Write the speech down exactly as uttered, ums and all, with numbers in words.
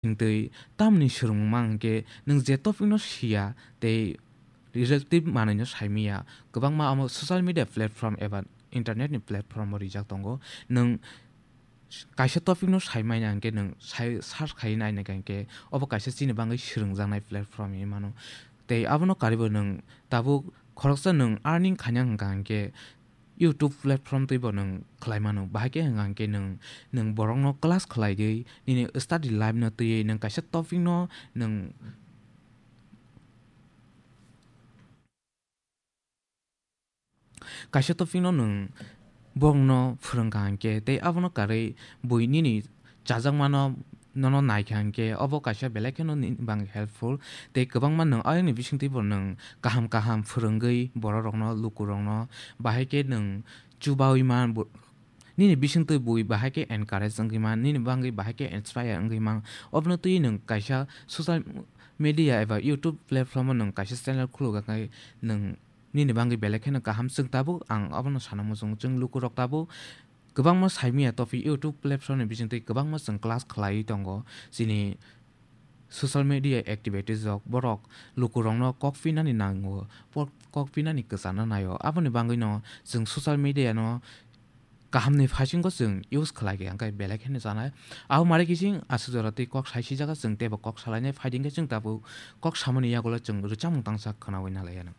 Hingtwi tamni swrwngmung ma hwnkhe nwng je topic no siya tei relative manwi no saimanya, kwbangma omo social media platform eba internet ni platform o rijak tongo. Nwng kaisa topic no saimanya hwnkhe nwng sai search khai naina hwnkhe obo kaisa chini bagwi swrwngjaknai platform hinwi mano. Tei abono karibo nwng tabuk khoroksa nwng earning khaina hwnkha hwnkhe YouTube platform twibo nwng khlai mano. Bahai khe hwnkha hwnkhe nwng, nwng borokno class khlaiwi nini study life no twiwi nwng kaisa topic no nwng, kaisa topic no nwng borokno phwrwngkha hwnkhe tei abono karwi bui nini chajakmano nono naikha hwnkhe obo kaisa belai kheno nini bagwi helpful. Tei kwbangma nwng ayangni bisingtwibo nwng kaham kaham phwrwngwi bororokno, lukurokno, bahai khe nwng chubawi man bo-, nini bisingtwi bui bahai khe encourage wngwi man, nini bagwi bahai khe inspire wngwi man. Obono twiwi nwng kaisa social media eba YouTube platform o nwng kaisa channel khulukha khe nwng nini bagwi belai kheno kaham. Chwng tabuk ang obono sana muchungo, chwng lukurok tabuk kwbangma saimanya topic YouTube platform ni bisingtwi kwbangma chwng class khlaiwi tongo. Chini social media activities rok borok lukurokno kok pinani nango, por-, kok pinani kwchana naio. Aboni bagwino chwng social media no kahamni phaisingbo chwng use khlai khe hwnkhe belai kheno chanai. Abo mare kising aswk jora tei kok saisi jaga chwng teibo kok salainai phaidi hwnkhe chwng tabuk kok samani yagulo chwng rwchapmung tangsa khwnawi nalaiyano.